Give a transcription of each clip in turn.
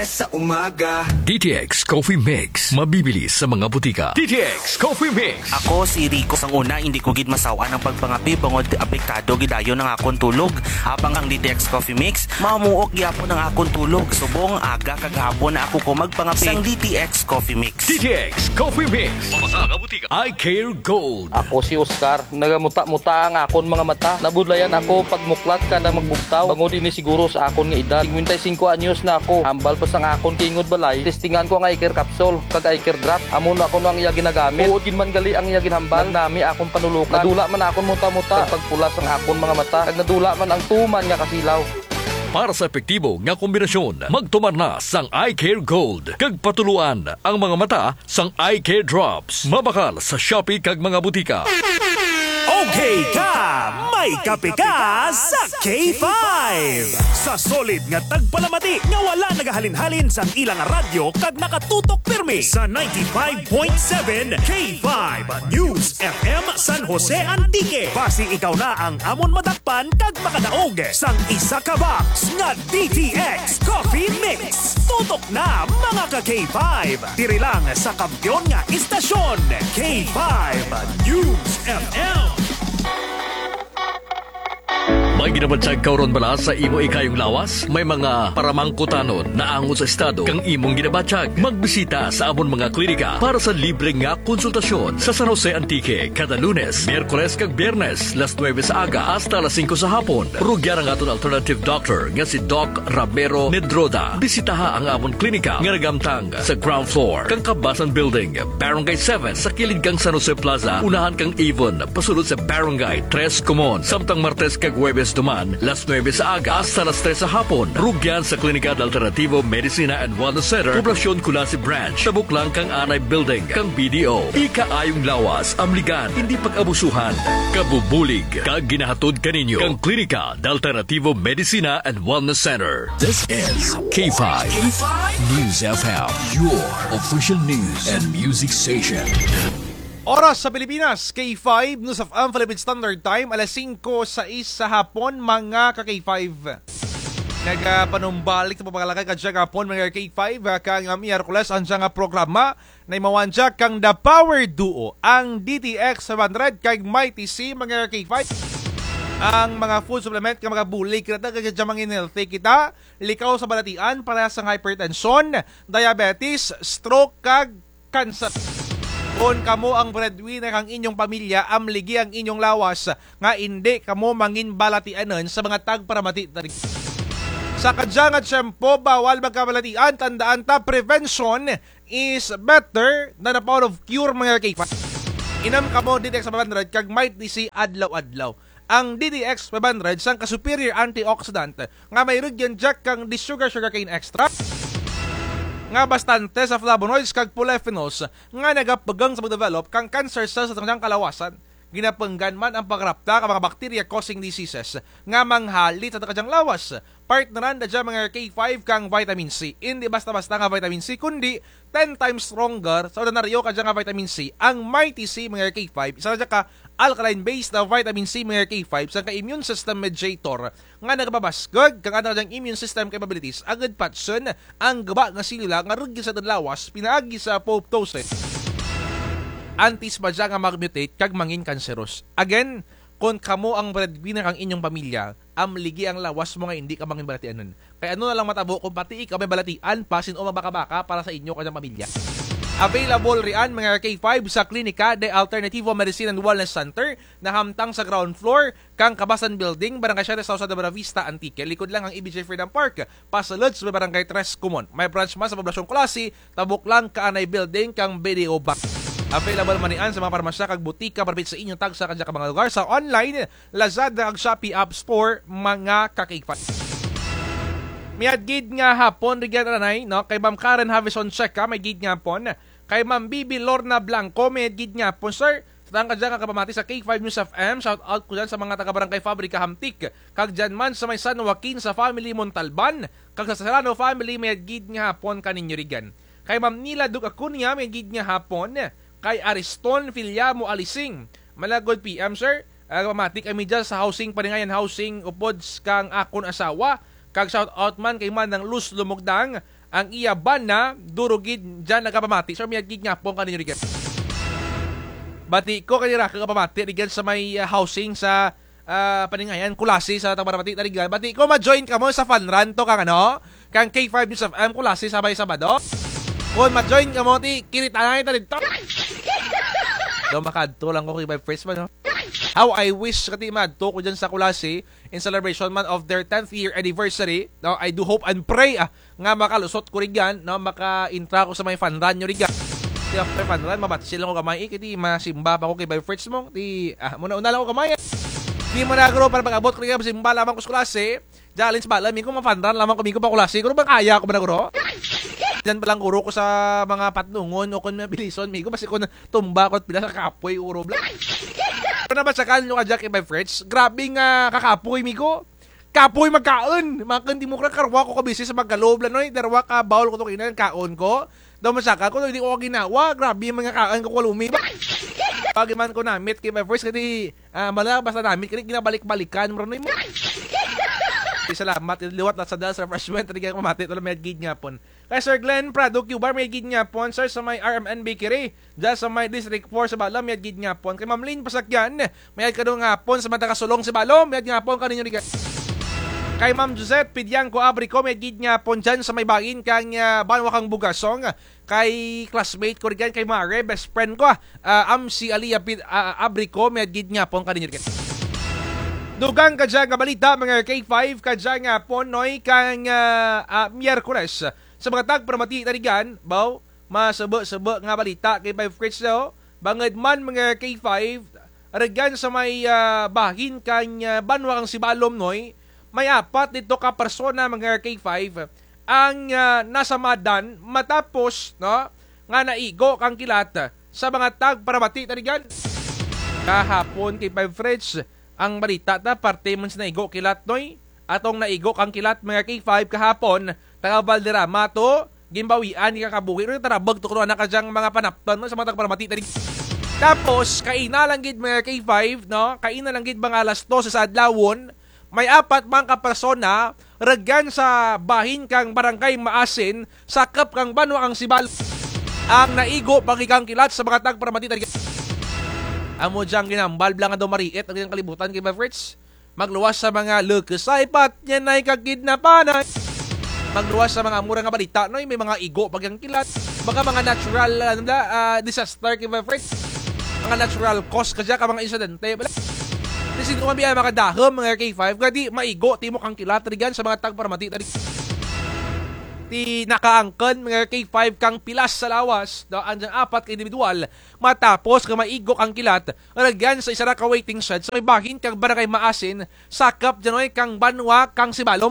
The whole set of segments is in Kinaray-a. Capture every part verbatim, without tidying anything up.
Sa umaga. D T X Coffee Mix, mabibili sa mga butika. D T X Coffee Mix. Ako si Rico. Sang una, hindi ko gid masaw-an ang pagpangape bangod apektado gid dayon ang akon tulog. Habang ang D T X Coffee Mix, mamuok gyapon ang akon tulog. Subong, aga kag hapon na ako ko magpangape. Sang D T X Coffee Mix. D T X Coffee Mix. Sa mga butika. Eye Care Gold. Ako si Oscar. Nagamuta-muta ang akon mga mata. Nabudlayan ako pagmuklat kada magbugtaw. Bangod ini siguro sa akon nga edad. Singkwenta y singko anyos na ako. Hambal pa sang akon kaingod balay, testingan ko ang eye care capsule kag eye care drop. Amo na kuno ang iya ginagamit. Tuod gid man gali ang iya ginhambal. Nagnami akon panulokan. Nadula man akon muta-muta. Kag pagpula sang akon mga mata. Kag nadula man ang tuman nga kasilaw. Para sa epektibo nga kombinasyon, magtumar na sang Eye Care Gold kag patuloan ang mga mata sang Eye Care Drops. Mabakal sa Shopee kag mga butika. Okay ka, may kape ka sa K five. Sa solid nga tagpalamati nga wala nagahalin-halin sang ilang radyo kag nakatutok pirmi sa ninety-five point seven K five News F M San Jose Antique. Basi ikaw na ang amon madakpan kag makadaog sang isa ka box nga D T X Coffee Mix. Tutok na, mga ka K five. Diri lang sa kampiyon nga istasyon, K five News F M. May ginabatyag ka ron bala sa imo ikayong lawas? May mga paramangkutanon naangot sa estado kang imong ginabatyag? Magbisita sa amon mga klinika para sa libre nga konsultasyon sa San Jose Antique kada Lunes, Miyerkules kag Biyernes, las nuebe sa aga hasta las singko sa hapon. Rugyan ang aton alternative doctor nga si Doc Ramiro Nedroda. Bisitaha ang amon klinika nga naghamtang sa ground floor kang Kabasan Building, Barangay seven, sa kilid kang San Jose Plaza, unahan kang Avon, pasulod sa Barangay Tres Comon. Samtang Martes kag Huwebes duman, las nuebe sa aga hasta las tres sa hapon. Rugyan sa Klinika de Alternativo Medicina and Wellness Center, Poblacion Culasi Branch, tabok lang kang Anay Building kang B D O. Ikaayong lawas, amligan, indi pag-abusuhan. Kabubulig kag ginahatod kaninyo kang Klinika de Alternativo Medicina and Wellness Center. This is K five News F M, your official news and music station. Oras sa Pilipinas, K five News F M Philippine Standard Time, alas singko sais sa hapon, mga ka K five. Nagapanumbalik sa pagpangalagad kadya gihapon, mga K five, ah, kang, ah, Miyerkules, ang dya nga programa, naimawan dya kang The Power Duo, ang D T X five hundred kag Mighty C, mga K five. Ang mga food supplement nga magabulig kanata, kag kadya mangin-healthy kita, likaw sa balatian, parehas sang hypertension, diabetes, stroke, kag cancer. Kon kamo ang breadwinner kang inyong pamilya, amligi ang inyong lawas nga indi kamo mangin balatianon sa mga tagparamati ta rugya. Sa kadya nga tiyempo, bawal magkabalatian, tandaan ta, prevention is better than the power of cure, mga K five. Inom kamo D T X five hundred kag Mighty C adlaw-adlaw. Ang D T X five hundred sangka superior antioxidant nga may rugyan dya kang desugared sugarcane extract nga bastante sa flavonoids kag polyphenols nga nagapugang sa pagdevelop kang cancer cells sa kadyang kalawasan. Ginapunggan man ang pagrapta kang mga bacteria causing diseases nga manghalit sa kadyang lawas. Partneran da dya, mga K five, kang vitamin C. Indi basta-basta nga vitamin C, kundi ten times stronger sa ordinaryo kadya nga vitamin C. Ang Mighty C, mga K five, isa na dya ka alkaline base na vitamin C, mga K five, sangka immune system mediator nga nagapabaskug kang atun kadyang immune system capabilities agud patsun ang guba nga selula nga rugyan sa atun lawas pinaagi sa apoptosis. Antes pa dya nga mag-mutate kag mangin kanseros. Again, kon kamo ang breadwinner kang inyong pamilya, amligi ang lawas mo nga indi ka mangin balatianon. Kay ano na lang matabo kon pati ikaw may balatian pa, sin-o mabakabaka para sa inyo kadyang pamilya. Available rian, mga K five, sa Klinika de Alternativo Medicine and Wellness Center, nahamtang sa ground floor kang Kabasan Building, Barangay Siete South, sa Buenavista, Antique. Likod lang kang E B J Freedom Park, pasulod sa Barangay Tres Comon. May branch man sa Poblacion Culasi, tabok lang kang Anay Building kang B D O Bank. Available man rian sa mga parmasya kag butika, parapit sa inyo tagsa kadya ka mga lugar, sa online, Lazada kag Shopee App Store, mga ka-K five. Mayad gid nga hapon rugyan, anay, no? Kay Ma'am Karen Havison Checa, mayad gid nga hapon. Kay Ma'am Bibi Lorna Blanco, mayad gid nga hapon, sir. Sa tanan kadya nga kapamati sa K five News F M, shout out ko dyan sa mga taga Barangay Fabrica Hamtic, kag dyan man sa may San Joaquin sa family Montalban, kag sa Serrano family, mayad gid nga hapon kaninyo rugyan. Kay Ma'am Nila Duke Acuña, mayad gid nga hapon. Kay Ariston Filiamo Alising, malagod P M, sir. Ah, pamati kami dyan sa Housing Paringayan Housing, upod s-, kang akon asawa. Kag shout out man kay Manang Luz Lumugdang, Ang iya bana, duro gid dyan nagapamati. Sir, mayad gid nga hapon kaninyo rugyan. Bati ko kay Raka gapamati rugyan sa may, ah, housing sa, ah, Paningayan, Culasi sa Tabarabati, Tarigan. Bati ko ma-join kamo sa fun run to kang ano, kang K five News F M, Culasi sa may Sabado. Kon ma-join kamo, ti, kiritanay ta didto. Daw makadto lang ko kay by first man, no? How I wish kati madto ko dyan sa Culasi in celebration man of their tenth year anniversary. No, I do hope and pray, ah, nga makalusot ko rugyan, no, maka-intra ko sa may fun run nyo rugyan. Ti after fun run, mabatsil lang ko gamay, eh, kay ti masimba pa ko kay by first mo. Ti, ah, muna-una lang ko gamay, eh. Ti muna guro para pag-abot ko rugyan, masimba lamang ko sa Culasi. Challenge bala, migo, ma-fun run lamang ko, migo, pa Culasi. Guro, makaya ko ba na, guro? Dyan pa lang, guro, ko sa mga patnungon o kon mabilison, migo, basi kon tumba ko pila sa kapoy, guro, bla. Pero nabasyakan nyo kadya kay by Fritz, grabe nga kakapoy, migo. Kapoy magkaon. Mga kandimukra, karwa ko kabisi sa magkalo bla, noy. Darwa ka bowl ko to kainan, kaon ko. Daw masaka ko, hindi ko ginawa. Grabe mga kaon ko, kalumi ba? Pag man ko namit kay by Fritz, kadi, ah, mala, basta namit, kadi ginabalik-balikan, bro, noy mo. Salamat, liwat na sa Dals Refreshment, hindi kayo mamati, wala may gid nga pon. Kay Sir Glenn Prado Cubar, may gid nga pon, sir, sa may R M N Bakery. Dyan sa may District four sa Balom, mayad gid nga hapon. Kay Ma'am Lynn Pasakyan, mayad kadto nga hapon sa may taga Sulong sa Balom, mayad nga hapon kaninyo rugyan. Kay Ma'am Josette Pidiangco Abrico, mayad gid nga hapon dyan sa may bahin kang, ah, banwa kang Bugasong. Kay classmate ko rugyan, kay Mare, best friend ko, ah, Amsi Alia Pid-, ah, Abrico, mayad gid nga hapon kaninyo rugyan. Dugang kadya nga balita, mga K five, kadya nga hapon, noy, kang, ah, ah, Miyerkules. Sa mga tagparamati ta rugyan, baw, masebe-sebe nga balita kay by Fritz, no? Bangud man mga K five, rugyan sa may, ah, bahin kang, ah, banwa kang Sibalom, noy, may apat didto ka persona mga K five ang, ah, nasamadan matapos, no, nga naigo kang kilat sa mga tagparamati ta rugyan. Kahapon kay by Fritz, ang balita ta, parte man sa naigo kilat, noy. Atong naigo kang kilat, mga K five kahapon, taga Valderrama to, ginbawian, ikabuhi, no, tarabag to kuno, anak, kadyang mga panapton, no, sa mga tagparamati ta rugyan. Tapos, kaina lang gid, mga K five, no, kaina lang gid, mga alas dose sa adlawon, may apat man ka persona, rugyan sa bahin kang Barangay Maasin, sakop kang banwa kang Sibalom, ang naigo pa gid kang kilat sa mga tagparamati ta rugyan. Amo dyang ginambal bala nga daw mariit ang kalibutan kay by Fritz. Magluwas sa mga lukes ay patyan ay kakidnapan ay. Magluwas sa mga amo ra nga balita, noy, may mga igo pa gid kang kilat. Baka mga natural, ano bala, ah, disaster kay by Fritz. Mga natural cause kadya ka mga insidente bala. Ti sin-o man biya makadahum mga K five, kadi maigo ti imo kang kilat rugyan sa mga tagparamati ta rugyan. Ti nakaangkon mga K five kang pilas sa lawas, no, ang dyang apat ka individual matapos nga maigo kang kilat rugyan sa isara ka waiting shed sa may bahin kang Barangay Maasin, sakop dyan, noy, kang banwa kang Sibalom.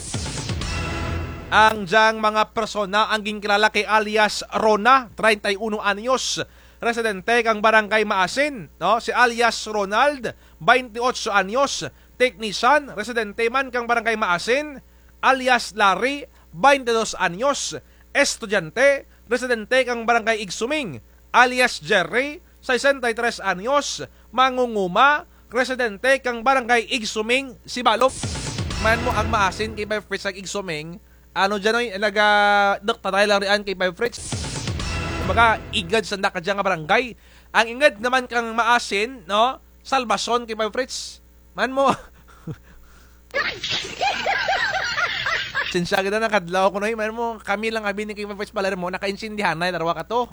Ang dyang mga persona ang ginkilala kay alias Rona, treinta y uno anyos, residente kang Barangay Maasin, no? Si alias Ronald, baynte otso anyos, teknisan, residente man kang Barangay Maasin, alias Larry, baynte dos anyos, estudyante, residente kang Barangay Igsuming, alias Jerry, sesenta y tres anyos, mangunguma, residente kang Barangay Igsuming, Sibalom. Man mo ang Maasin kay by Fritz ang Igsuming. Ano dyan, noy, naga-, nagtatay lang riyan kay by Fritz. Kumbaga, ingud sanda kadya nga barangay. Ang ingud naman kang Maasin, no? Salvacion kay by Fritz. Man mo. Sensya kita, nakadlaw ko, noy. Man mo, kami lang abi ni kay Fritz Palermo, nakaintindihan na, darwa ka to.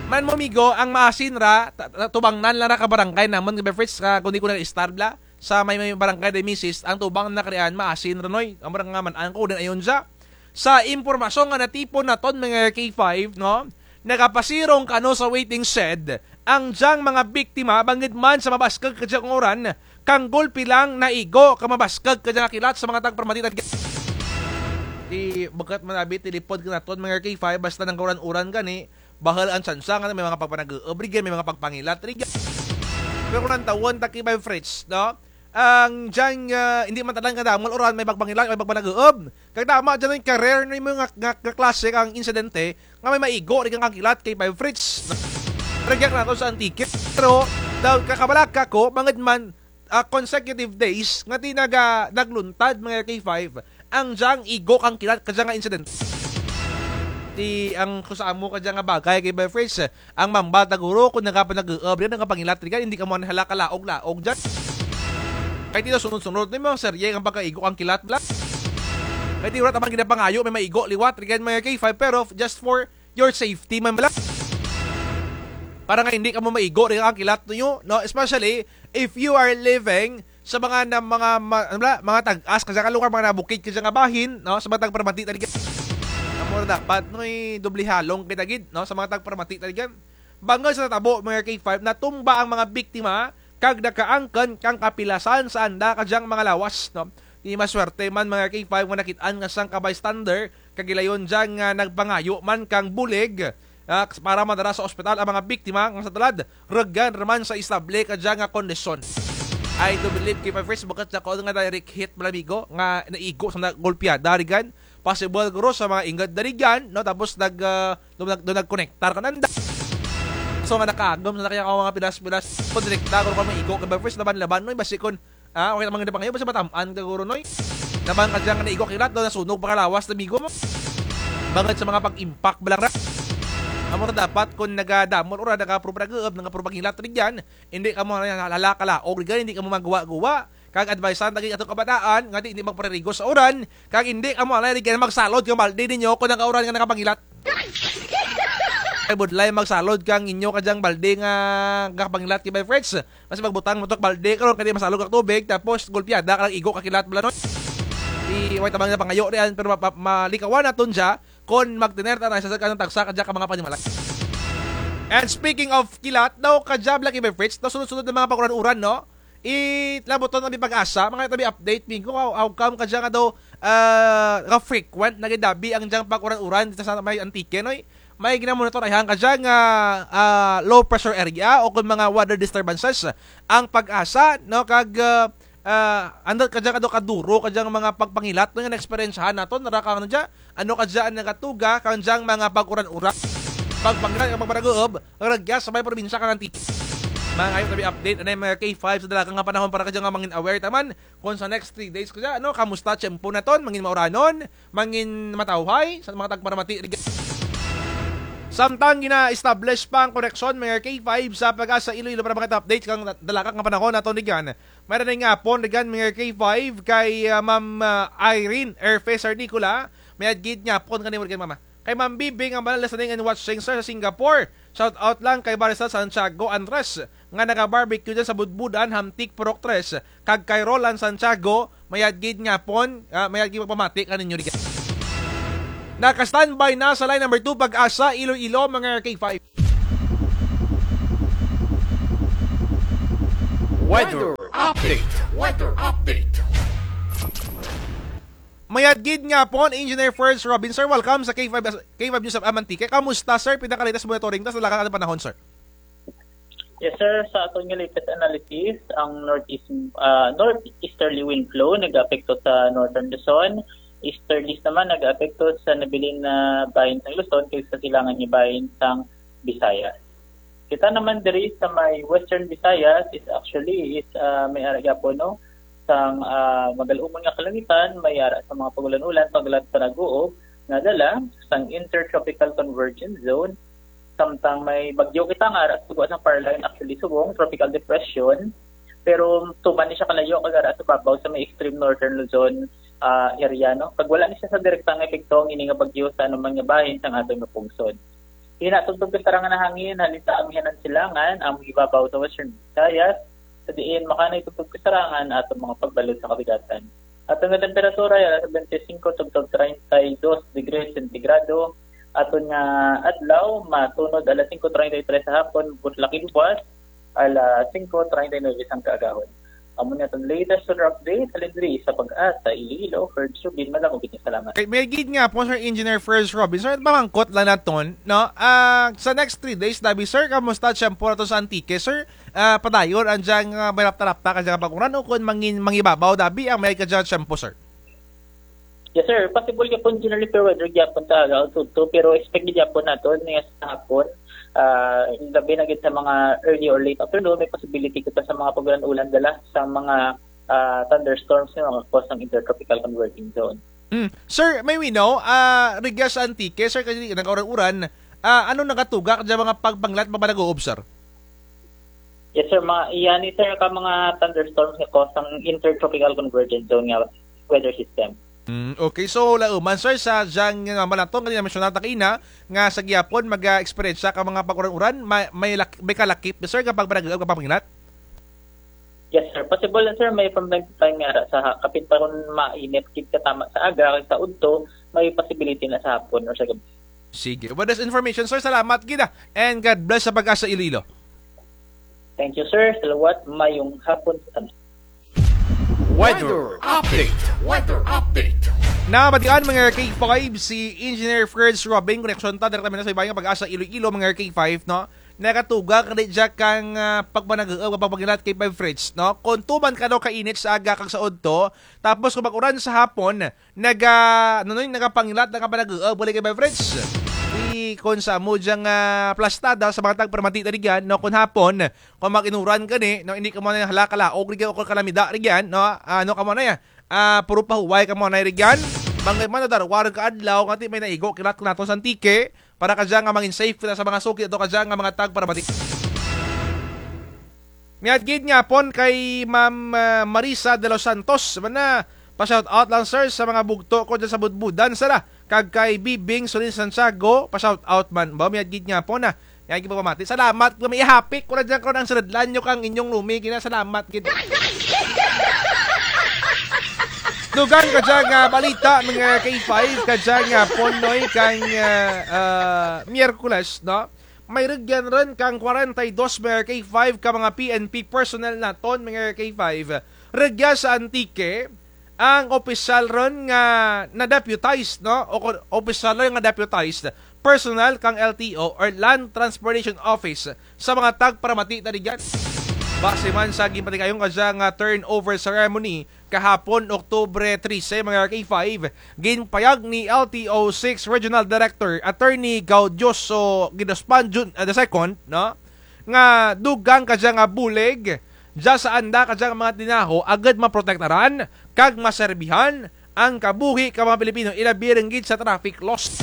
Man mo, migo, ang Maasin ra, ta-, ta-, tubangnan lang ra ka barangay namun kay Fritz, ka, kundi ko na istar bala, sa may, may barangay de misis, ang tubang na karian, Maasin ra, noy. Amo ra nga man, ang ko din ayon dya. Sa impormasyon nga natipon naton, mga K five, no? Nagapasirong kano sa waiting shed, ang dyang mga biktima, bangud man sa mabaskug kadya nga uran, kang gulpi lang naigo kang mabaskug kadya nga kilat sa mga tagparamati ta rugyan. Ti, bukut man abi, tilipod ka naton, mga K five, basta nang kauran-uran gani, bahul ang tsansa nga may mga pagpanag-uub rugyan, may mga pagpangilat rugyan. Pero kon lantawun ta kay by Fritz, no? Ang dyang, ah, hindi man tanan kadamo uran, may pagpangilat, may pagpanag-uub. Kag tama dyan, noy, ka-rare, noy, nga, nga, nga klase kang insidente nga may maigo rugyan kang kilat kay by Fritz. Rugyan nato sa Antique. Pero, daw, kakabalaka ko, bangud man, ah, consecutive days nga ti naga-, nagluntad, mga K five, ang dyang igo kang kilat kadya nga insidente. Ti ang kusa mo kadya nga bagay kay Befriends, ang mamba ta guro kon nagapanag-uub ryan, nagapangilat ryan, indi kamo anay hala kalaog-laog dyan. Kay ti daw sunod-sunod nimo ang serye ang pagkaigo kang kilat bala. Kay ti wara ta man ginapangayo may maigo liwat ryan mga K five, pero just for your safety man bala. Para nga indi kamo maigo ryan ang kilat ninyo, no? Especially if you are living sa mga na, mga ma-, ano bala, mga tag-as kadya nga lugar, mga nabukid kadya nga bahin, no? Sa mga tagparamati ta ryan. Amo ra dapat, no, i-doble halong kita gid, no? Sa mga tagparamati ta ryan. Bangud sa natabo mga K five, natumba ang mga biktima kag nakaangkon kang kapilasan sa anda kadyang mga lawas, no? Ti maswerte man mga K five nga nakit-an kang sangka bystander kag gilayon dyan nga nagpangayo man kang bulig, ah, para madara sa ospital ang mga biktima nga sa tulad, rugyan ra man sa estable kadya nga kondisyon. I do believe K five Friends, bukut sa kon nga direct hit bala amigo nga naigo sa nagolpyada rugyan, possible guro sa mga ingod na rugyan, no? Tapos nag, ah, daw nag-, daw nagkonektar kananda. So nga nakaagom sa kaya ka mga pilas-pilas konektar guro ka maigo K five Friends, laban-laban, no? Basi kon, ah, okay naman nga pangayo, basi matam-an ka guro, noy. Laban kadya nga naigo kilat, daw nasunog pa kalawas na amigo mo. Bangud sa mga pag-impact bala ra. Amo ra dapat kon nagadamol ora nagapro-, nag-uub, nagapro-, pangilat rugyan, indi kamo hala kalaog rugyan, indi kamo magguwa-guwa. Kag advisean ta gid atong kabataan nga ti indi magparirigo sa uran, kag indi kamo anay rugyan magsalod kang balde ninyo kon nagauran nga nagapangilat. Ay budlay magsalod kang inyo kadyang balde nga gapangilat K five Friends. Basi magbutang mo to ka balde karon kay ti masalod kang tubig, tapos golpyada ka lang igo ka kilat bala, no? Ti way ta man nga pangayo ryan, pero ma-, ma-, malikawan naton dya kon magtener ta anay sa kanang tagsa kadya ka mga panimalay. And speaking of kilat, daw kadya bala K five Friends, daw sunod-sunod nga mga pag-uran-uran, no? Ilabuton ta bi PAGASA, mangayo ta bi update, amigo, how, how come kadya nga daw, ah, ka-frequent na gid dabi ang dyang pag-uran-uran dito sa may Antique, noy? May ginamonitor ayhan kadya nga, ah, low pressure area o kon mga weather disturbances ang PAGASA, no? Kag, ah, ah, andut kadya nga daw kaduro kadyang mga pagpangilat, no, nga naeksperyensyahan naton, ra kang ano dya, ano kadya ang nagatuga kang dyang mga pag-uran-uran, pagpangilat kag pagpanag-uub, rugya sa may probinsya kang Antique. Mangayo ta bi update anay mga K five sa dalaga nga panahon para kadya nga mangin aware ta man kon sa next three days kadya, ano, kamusta tiyempo naton, mangin mauranon, mangin matawhay, sa mga tagparamati rugyan. Samtang gina-establish pa ang koneksyon mga K five sa PAGASA Iloilo para maka-update kang dalaga nga panahon naton rugyan. Mayad nga hapon rugyan mga K five kay, ah, Ma'am, ah, Irene Erfeser Nicola. Mayad gid nga hapon kanimo rugyan, mama. Kay Ma'am Bibi nga bala listening and watching, sir, sa Singapore. Shout out lang kay Barista Santiago Andres nga naga-barbecue dyan sa Budbudan, Hamtic, Purok Tres. Kag kay Roland Santiago, mayad gid nga hapon, ah, mayad gid pagpamati kaninyo rugyan. Naka-standby na sa line number two, PAGASA Iloilo, mga K five. Weather update. Weather update. Mayad gid nga hapon, Engineer First Robin. Sir, welcome sa K five, K five News of Amantique. Kamusta, sir? Pinaka-latest monitoring ta sa dalaga nga panahon, sir. Yes, sir. Sa aton nga latest analysis, ang northeast, ah, northeasterly wind flow nag-aapekto sa Northern Luzon. Easterlies naman nag-aapekto sa nabilin na bahin sang Luzon kag sa silangan nga bahin sang Visayas. Kita naman diri sa may Western Visayas is actually is, ah, may ara gyapon, no, sang, ah, magal-umon nga kalangitan, may ara sa mga pag-ulan-ulan, pag-ulan, panag-uub nga dala sang intertropical convergence zone. Samtang may bagyo kita nga ara sa gwa sang Caroline, actually subong tropical depression, pero tuman ni siya kalayo kag ara sa babaw sa may extreme northern Luzon, ah, area, no? Kag wala ni siya sa direkta nga epekto ang ini nga bagyo sa anuman nga bahin sang aton nga pungsod. Hinatugtog kasarangan nga hangin, halin sa amihanan silangan, ang ibabaw sa Western Visayas, sa diin makanay tugtog kasarangan atong mga pagbalod sa kabigatan. Aton nga temperatura, yara sa twenty-five tugtog treinta y dos degrees centigrado. Aton nga adlaw, matunod alas singko treinta y tres sa hapon, buslak i buwas, alas singko treinta y nuebe sang kaagahon. Amo ni aton latest weather update, halin diri sa PAGASA Iloilo, First Robin, madamo gid nga salamat. Kay, mayad gid nga hapon, Sir Engineer First Robin. Sir, pamangkot lang naton, no? Ah, sa next three days, dabi, sir, kamusta tiyempo naton sa Antique, sir? Ah, padayon ang dyang, ah, may rapta-rapta kadya nga pag-uran ukon mangin-, mangibabaw dabi ang may kadya nga tiyempo, sir? Yes, sir. Possible gyapon generally fair weather gyapon ta aga, tudto, pero expect gid gyapon naton nga sa hapon, ah, labi na gid sa mga early or late afternoon, may possibility kita sa mga pag-ulan-ulan dala sa mga, ah, thunderstorms nga maka-cause sang intertropical converging zone. Mm. Sir, may we know, ah, rugya sa Antique, sir, kay nagauran-uran, ah, ano nagatugak dya mga pagpangilat, mga panag-uob, sir? Yes, sir. Mga, iya ni, sir, ka mga thunderstorms nga cause sang intertropical convergence zone nga weather system. Mm, okay. So, laoman, sir, sa dyang, ah, manaton, kanina mensyona ta kaina, nga sa gihapon, mag-a-experience ka mga pag-uran-uran, may, may lak-, may kalakip, sir, ka pagpanag-uob, ka pagpangilat? Yes, sir. Possible na, sir. May from time to time nga ra sa ha-, kapin pa kon mainit gid ka tama sa aga, sa udto, may possibility na sa hapon or sa gabi. Sige. With this information, sir, salamat gid, ah. And God bless sa Pag-asa Iloilo. Thank you, sir. Salawat, mayong hapon sa tanan. Weather update. Weather update. Nabatian, mga K five, si Engineer Fritz Robing, koneksyon ta direktamente sa iba nga Pag-asa Iloilo, mga K five, no? Nagatugak gid dya kang, ah, pagpanag-uob, pagpangilat, K five Fritz, no? Kon tuman kano kainit sa aga kag sa udto, tapos kon mag-uran sa hapon, naga-, ano, no, nagapangilat, nagapanag-uob, K five Fritz. Di kon sa amo dyang, ah, plastada sa mga tagparamati ta rugyan, no, kon hapon, kon mag-inuran gani, no, indi kamo anay hala kalaog rugyan o kon kalamida rugyan, no, ano kamo anay, ah, puro pahuway kamo anay rugyan. Bangud man nadarwa run ka adlaw, nga ti may naigo, kilat ko naton sa Antique, para kadya nga mangin safe kita sa mga suki, ato kadya nga mga tagparamati. Mayad gid nga hapon kay Ma'am, ah, Marisa de los Santos. Mana, pa-shout out lang, sir, sa mga bugto ko dyan sa Budbudan, sir, ah. Kag kay Bibing Solin Santiago, pa-shout out man. Ba, mayad gid nga hapon, ah. Mayad gid pagpamati. Salamat, kung may ihapik ko na dyan, kung ang siridlan nyo kang inyong lumi, gina, salamat gid. Dugang kadya nga balita, mga K five, kadya nga hapon, noy, kang, ah, ah, Miyerkules, no? May rugyan run kang kwarenta y dos, mga K five, ka mga P N P personnel naton, mga K five. Rugya sa Antique, ang opisyal run nga na-deputized, no? O kon-, opisyal run nga deputized personnel kang L T O or Land Transportation Office sa mga tagparamati ta rugyan. Base man sa ginpatigayon kadya nga turnover ceremony, kahapon, Oktubre trese, mga K five, ginpayag ni L T O six Regional Director Attorney Gaudioso Guidospan Jun-, ah, the second, no? Nga dugang kadya nga bulig dya sa anda kadya nga mga tinaho agud maprotektaran kag maserbihan ang kabuhi ka mga Pilipino, ilabi run gid sa traffic laws.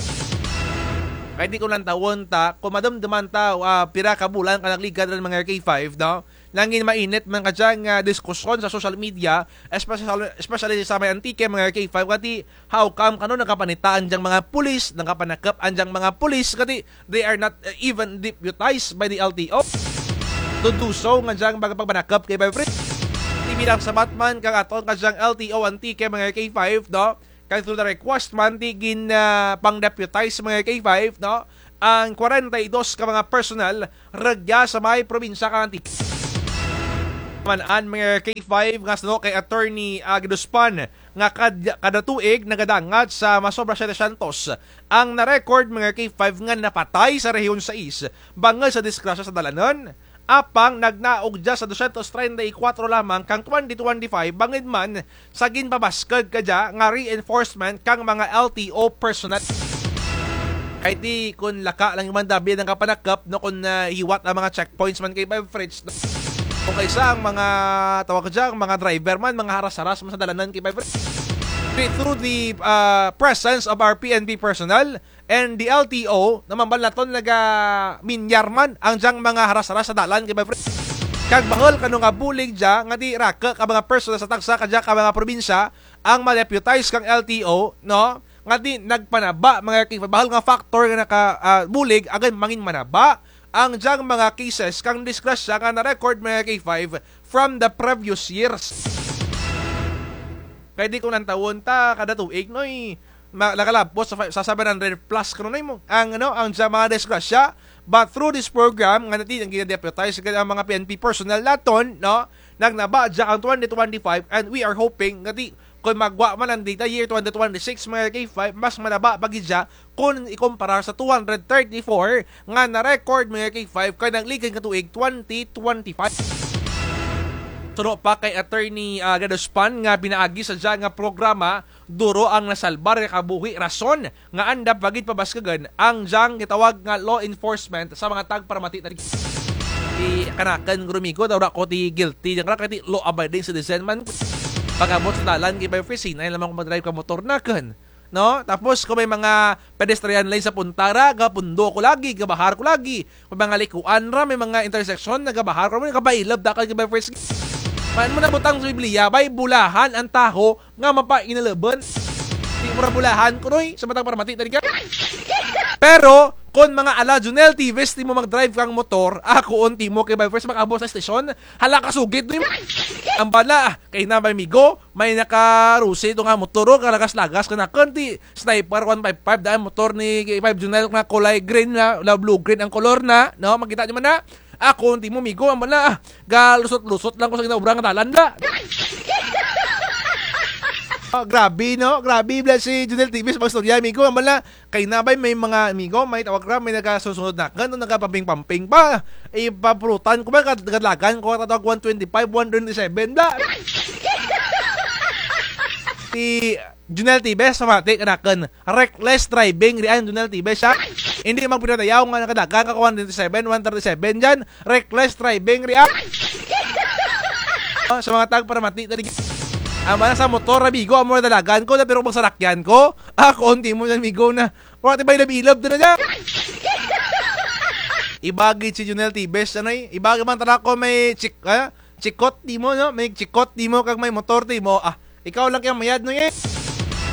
Kay di ko lang tawon ta, kung madumduman ta, ah, pira ka bulan ka nagligad run, mga K five, no? Nangin mainit man kadya nga diskusyon sa social media, especially, especially sa may Antique, mga K five, kati how come kano nagapanita ang dyang mga pulis, nagapanakap ang dyang mga pulis, kati they are not, uh, even deputized by the L T O to do so nga dyang mga pagpanakap, K five Fritz. Ti bilang sabat man kang aton kadyang L T O Antique, mga K five, no? Kay through the request man, ti gin, ah, pang-deputize, mga K five, no? Ang kwarenta y dos ka mga personnel rugya sa may probinsya kang Antique. Man-an, mga K five, nga suno kay Attorney, ah, Guidospan, nga kad-, kada tuig nagadangat sa masobra setecientos ang na-record, mga K five, nga napatay sa Rehiyon sais bangud sa disgrasya sa dalanon. Apang nagnaog dya sa dosyentos treinta y kuwatro lamang kang twenty twenty-five, bangud man sa ginpabaskug kadya nga reinforcement kang mga L T O personnel. Kay ti kon laka lang man dabi ang kapanakap, no, kon, ah, hiwat ang mga checkpoints man, K five Fritz, no? Kon kaysa ang mga, tawag dya, ang mga driver man, mga haras-haras man sa dalanan, K five Fritz. Through the, ah, presence of our P N P personnel, and the L T O, na mambal naton naga-minyar man ang dyang mga haras-haras sa dalan, K five Fritz. Kag bahul kano nga bulig dya, nga ti raku ka mga personnel sa tagsa kadya ka mga probinsya, ang ma-deputize kang L T O, no? Nga ti nagpanaba, mga K five, bahul nga factor nga naka, ah, bulig, agud mangin manaba ang dyang mga cases kang disgrasya nga na-record, mga K five, from the previous years. Kay di kon lantawon ta, kada tuig, noy, ma-, nakalabot sa fi-, sa seven hundred plus kano, noy, mo. Ang, ano, ang dyang mga disgrasya, but through this program, nga ti, ang gina-deputize, ang mga P N P personnel naton, no, nagnaba dya ang twenty twenty-five, and we are hoping, nga ti, kon magwa man ang data year twenty twenty-six, mga K five, mas manaba pa gid dya, kon ikumparar sa two hundred thirty-four nga na-record, mga K five, kang nagligad nga tuig, twenty twenty-five. Suno pa kay Attorney, ah, Guidospan nga pinaagi sa dya nga programa, duro ang nasalbar nga kabuhi, rason nga anda pa gid pabaskugun ang dyang gitawag nga law enforcement sa mga tagparamati ta rugya. Ti kanakun guro, migo, daw ra ko ti guilty dyan, kara, kay ti law-abiding citizen man. Pag-abot sa dalan, K five Fresh, hinay lamang ko mag-drive ka motor nakun. No? Tapos, kung may mga pedestrian lane sa punta ra, gapundo ko lagi, gabahar ko lagi. May mga likuan ra, may mga intersection, nagabahar ko, nagapailab, dakal K five Fresh. Maan mo nabutang sa Biblia, bay, bulahan ang tawo nga mapainalabon. Di mo ra bulahan kuno, eh, sa matag paramati, tadi ka. Pero, kung mga ala Junel Tibes, ti mo mag-drive kang motor, ako, unti mo K five Fresh, mag-abot sa estasyon, hala ka sugid, no, eh. Ambala, kay na bay, migo, may naka-Rusi to nga motor, oh, kalagas-lagas kanakun, ti Sniper one five five, daan motor ni K five Junel nga kulay green na, na blue-green ang kolor na, no? Makita nyo man na? Ako, unti mo, migo, ambala, ah, galusot-lusot lang ko sa ginaobra nga dalan, bala. Oh, grabe, no? Grabe, bala si Junel Tibes, mag-istorya, migo, ambala, kay na bay, may mga, migo, may tawag ra, may nagasunod-sunod nakun, nagapamping-pamping pa. Ipapulutan ko ba, kad-, kadalagan ko, tatawag one twenty-five, one twenty-seven, bala. Si Junel Tibes, pamati kanakun. Reckless driving, rian, Junel Tibes, ha? Hindi magpinadayaw nga nakadagan ka one twenty-seven, one thirty-seven dyan. Reckless driving, rian. Oh, sa mga tagparamati, tadi. Ambala sa motor, amigo, amo dalagan ko, na pero magsarakyan ko. Ako, unti mo dyan, migo, na. Wala ti bay ilab-ilab, dyan na dyan. Iba gid si Junel Tibes, ano, eh? Iba gid man tala ko may chik-, ah? Chikot ti mo, no? May chikot ti mo, kag may motor ti mo. Ah, ikaw lang kaya mayad, no, eh?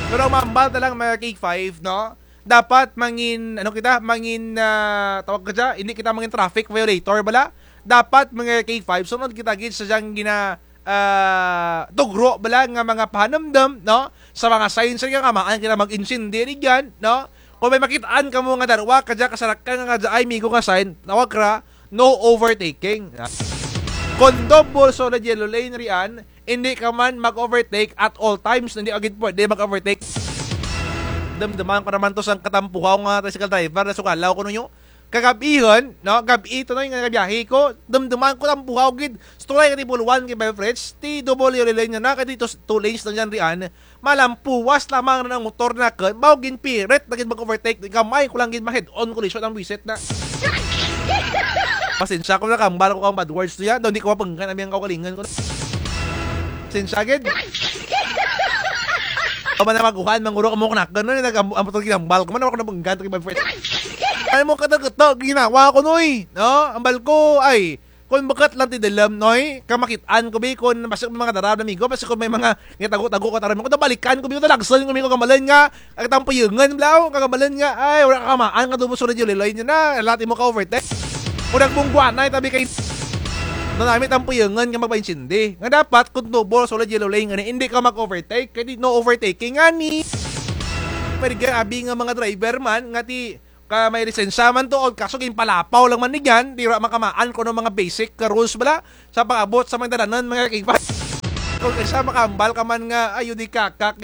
Pero mambal ta lang, mga K five, no? Dapat mangin, ano kita, mangin, ah, tawag ka dyan, hindi kita mangin traffic violator, bala. Dapat, mga K five, sunod kita gid sa dyang gina-, ah, tugro, bala, nga mga pahanumdum, no? Sa mga signs nga kamaan kita mag-insindi, di dyan, no? Kung may makitaan kamo nga darwa, kadya kasarakan nga kadya ay migo nga sign, tawag ra, no overtaking. Kung double solid yellow lane rian, hindi ka man mag-overtake at all times, hindi agad pwede mag-overtake. Damdaman ko naman to sa katampuhaw nga tricycle driver na sukalaw ko ninyo. Kagab-ihon, no? Gab-i to, no, nga nagabiyahe ko. Damdaman ko tampuhaw gid. Sa tulay ka ti puluan kay Bel Fritz, ti double yellow lane na, kay ti two, two lanes na dyan rian. Malampuwas lamang na ang motor nakun, mao ginpirit na gid mag-overtake, gamay ko lang gid ma-head-on collision ang buwisit na. Pasensya ko na, kambal ko kang bad words to yan, daw hindi ko mapanggan ang iyang kaugalingon ko. Pasensya gid. Ako man na maguhan, manguro ka mo kanakun, no, nag-, ang, ang, ang ginambal ko man, ako napanggan to kay bad words. Ay mo, kato-kato, ginawa ko, noy, no? Ambal ko, ay, Kon bukut lang ti dalum, noy, kamakit-an ko bi, kon basi kon may mga dara, amigo, basi kon may mga gitago-tago ka, tara, kon balikan ko bi, kon talagsun ko bi, kon kagambalan nga, ay, tampuyangan, bala, o, kagambalan nga, ay, wara ka kamaan, nga double solid yellow lane dyan na, ala ti mo ka-overtake. Kon nagbungguanay, tabi kay, nanami tampuyangan nga magpaintsindi. Nga dapat, kon double solid yellow lane, nga ni, hindi ka mag-overtake, kay di, no overtaking, nga ni. Pero grabe nga mga driver man, nga ti, Ka may lisensya man tuod, kaso ginpalapaw lang man ni dyan, ti wara man kamaan kon ano mga basic ka rules bala, sa pag-abot sa mga dalanon, mga kaipan. Kon kaysa makahambal ka man nga, ayo di kakak.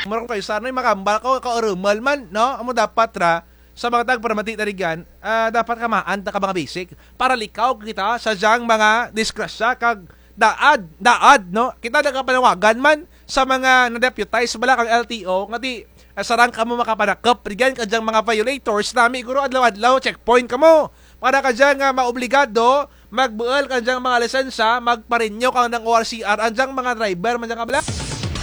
Mura kon kaysa, noy, makahambal ka, kaurumal man, no? Amo dapat ra, sa mga tagparamati ta rugyan, ah, dapat kamaan ta ka mga basic, para likaw kita sa dyang mga disgrasya, kag daad, daad, no? Kita nagapanawagan man sa mga na-deputize bala kang L T O, nga ti, ah, sarang kamo makapanakup rugyan ka dyang mga violators, nami guro adlaw-adlaw checkpoint kamo. Para ka dyan nga maobligado, magbuul ka dyang mga lisensya, magpa-renew ka dyang O R C R, ang dyang mga driver, man dyang kabala,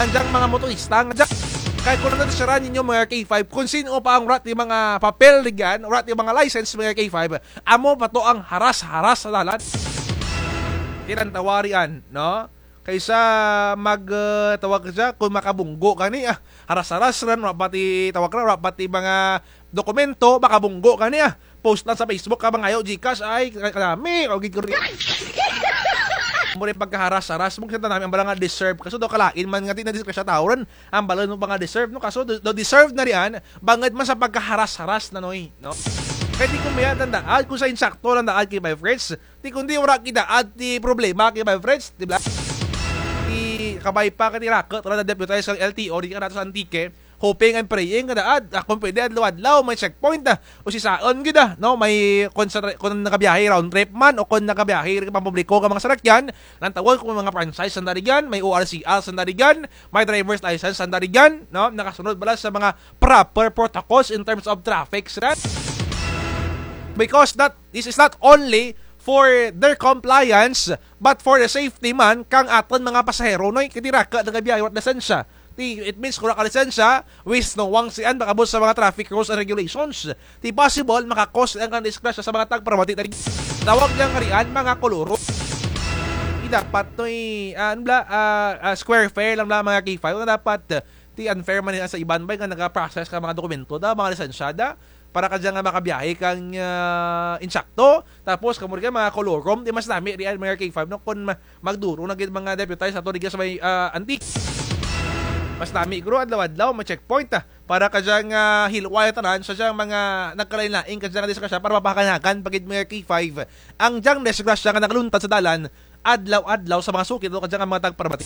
ang dyang mga motorista, nga dyan. Kay kon ano, sara ninyo mga K five, kon sin-o pa ang wara ti mga papel rugyan, wara ti mga license mga K five, amo pa to ang haras-haras sa dalan. Ti lang tawari an, no? Kaysa mag, eh, tawag ka dyan, kon makabunggo ka ni, ah, haras-haras ran, wara pa ti tawag ra, wara pa ti mga dokumento, makabunggo ka ni, ah. Post lang sa Facebook ka, mangayo GCash, ay, ka-, kanami, o gid ko rin. Mura pagkaharas-haras, mong kita nami, ang bala nga deserve. Kaso daw kalain man nga, ti na disgrasya tao ran. Ang bala no mga deserve, no? Kaso, do, do deserve na riyan, bangud man sa pagkaharas-haras na, noy, no? Kay ti kon mayad ang daad, kon sa insakto lang daad kay my friends, ti kon di wara kay daad ti problema kay my friends, di ba? Ti kabay pa kay ti raku, tulad na deputize kang L T O, di ka nato sa Antique, hoping and praying nga daad, ah, kon pwede adlaw-adlaw, may checkpoint, ah, usisaon gid, ah, no? May kon sa tra-, kon nagabiyahe round trip man, o kon nagabiyahe ka pampubliko ka mga sarakyan, lantawon kon mga franchise sanda rugyan, may O R C R sanda rugyan, may driver's license sanda rugyan, no? Nakasunod bala sa mga proper protocols in terms of traffic, sir. Because that, this is not only for their compliance, but for the safety man kang atun mga pasahero, Noy, kay ti raka nagabiyahe wara't lisensya. Ti, it means kung wara ka lisensya, wisno wang sian, makabot sa mga traffic rules and regulations. Ti possible, maka-cause lang kang disgrasya sa mga tagparamati. Tawag lang karian, mga koloro. Ti dapat, Noy, ah, ano bala, ah, ah, square fare lang bala, mga K five, nga dapat, ah, ti unfair man sa iban bay nga naga-process kang mga dokumento da, mga lisensya da, para kadya nga makabiyahe kang, ah, insakto. Tapos, kamo run kay mga kolorom, ti mas nami rian, mga K five, no? Kung ma-, magduro na gid mga deputize ato rugya sa may, ah, Antique. Mas nami guro, adlaw-adlaw, may checkpoint, ah, para kadya nga hilway tanan sa dyang mga nagkalain-lain kadya nga disgrasya para mapahanagan pa gid, mga K five, ang dyang disgrasya nga nakaluntad sa dalan adlaw-adlaw sa mga suki, no, kadya nga mga tagparamati.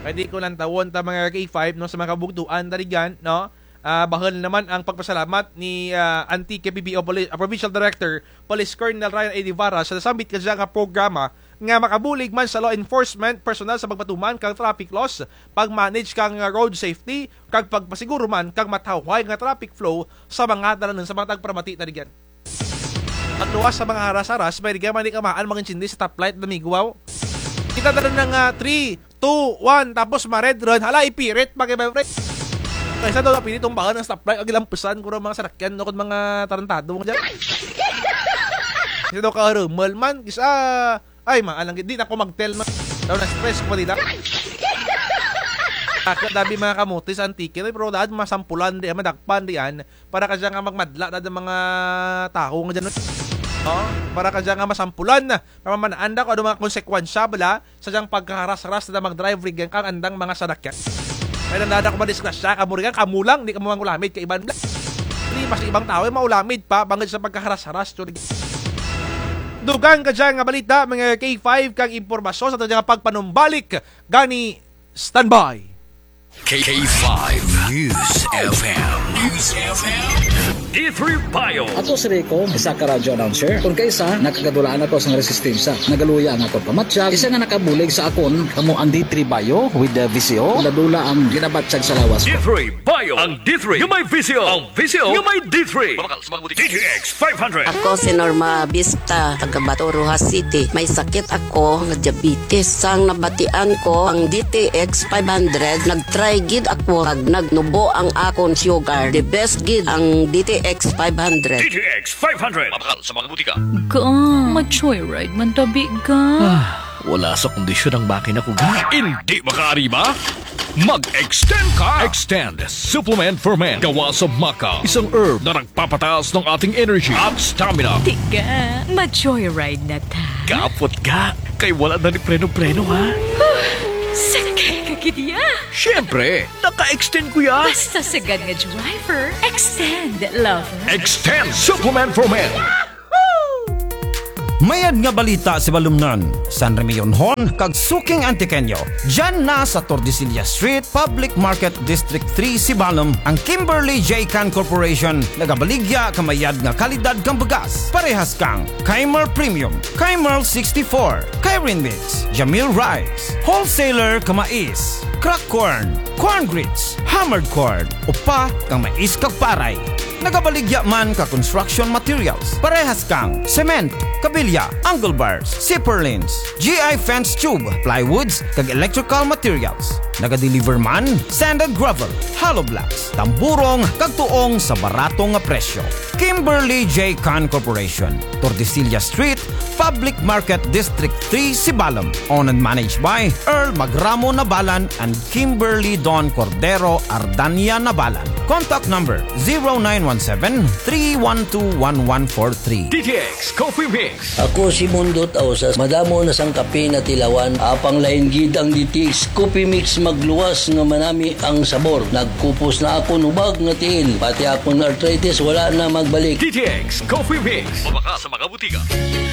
Kay di ko lantawon ta, mga K five, no, sa mga kabugtuan ta rugyan, no? Ah, bahul naman ang pagpasalamat ni, ah, Antique P P O Poli-, ah, Provincial Director, Police Colonel Ryan A. Divara, sa nasambit kadya nga programa nga makabulig man sa law enforcement personnel sa pagpatuman kang traffic laws, pag-manage kang, ah, road safety, kag pagpasiguro man kang matawhay nga traffic flow sa mga dalanon sa mga tagparamati ta rugyan. Pagluwas sa mga haras-haras, may rugya man di kamaan mag-intsindi sa stoplight, damigwaw. Kita na rin ng, ah, three, two, one, tapos ma-red run. Hala, ipirit, pag-, kaysa daw napilit tumbahan ang stoplight, ang gilampusan, kuro mga sarakyan, no, kun mga tarantado, mga dyan. Kaysa daw karumal man, kaysa, ay, maalang, di na ko mag-tell, ma-, daw na-stress ko pa dida. Ako, dabi mga kamote sa Antique, no, pero daan masampulan, di, madakpan, diyan. Para kadya nga magmadla na ang mga tawo nga dyan. No? Para kadya nga masampulan na, pamamanaan na kung ano mga konsekwensya bala sa dyang pagkaharas-haras na mag-drive rugyan kang andang mga sarakyan. Kay nanda ako madisgrasya, kamo rugyan, kamo lang, di kamo mangulamid kay iban. Di, mas ibang tawo, eh, maulamid pa, bangud sa pagkaharas-haras, so, dugang kadya nga balita, mga K five, kang impormasyon sa dyang pagpanumbalik, gani, standby. K five News F M. News F M. D three Bio. Ako si Rico, isa ka radyo announcer. Kon kaisa, nakagadulaan ako sa resistensya. Nagaluya ang akon pamatyag, isa nga nakabulig sa akon, kamo ang D three Bio with the V C O. Dula-dula ang ginabatyag sa lawas ko. D three Bio. Ang D three nga may V C O. Ang V C O nga may D three. Mabakal sa mga butika. D T X five hundred. Ako si Norma Bista, taga Bato, Roxas City. May sakit ako nga diabetes. Sang nabatian ko ang D T X five hundred, nag-try gid ako, kag nagnubo ang akon sugar. The best gid ang D T X five hundred. D T X five hundred. Mabakal sa mga butika. Ga, ma-joyride man tabi, ga. Ah, wala sa kondisyon ang makina ko, ga. Hindi makaari ba? Mag-extend ka! Extend Supplement for Men. Gawa sa maca, isang herb na nagpapataas ng ating energy at stamina. Tiga, ma-joyride na ta. Kapot ga, kay wala na ni preno-preno, ha? Huh, sakay ka gid ya. Siyempre, naka-extend ko ya. Basta sagad nga driver, extend, lover. Extend Supplement for Men. Mayad nga balita sa balumnan, San Remillon Hon, kag suking Antiqueño. Dyan na sa Tordesillas Street, Public Market, District three, Sibalom, ang Kimberly J Can Corporation, nagabaligya ka mayad nga kalidad kang bugas. Parehas kang Keimer Premium, Keimer sixty-four, Keirin Mix, Jamil Rice, Wholesaler ka mais, crack corn, corn grits, hammered corn, upa kang mais kag paray. Nagabaligya man ka construction materials, parehas kang cement, kabilya, angle bars, zipper lines, G I fence tube, plywoods, kag electrical materials. Nagadeliver man, sand and gravel, hollow blocks, tamburong, kag tuong sa barato nga presyo. Kimberly J Can Corporation, Tordesillas Street, Public Market, District three, Sibalom. Owned and managed by Earl Magramo Nabalan and Kimberly Don Cordero Ardania Nabalan. Contact number zero nine one seven, three one two, one one four three. D T X Coffee Mix. Ako si Mundot Ausas, madamo na sang kape natilawan, apang lain gid ang D T X Coffee Mix, magluwas nga manami ang sabor. Nagkupos na akon hubag nga tiil, pati akon arthritis wala na magbalik. D T X Coffee Mix. Mabakal sa mga butika.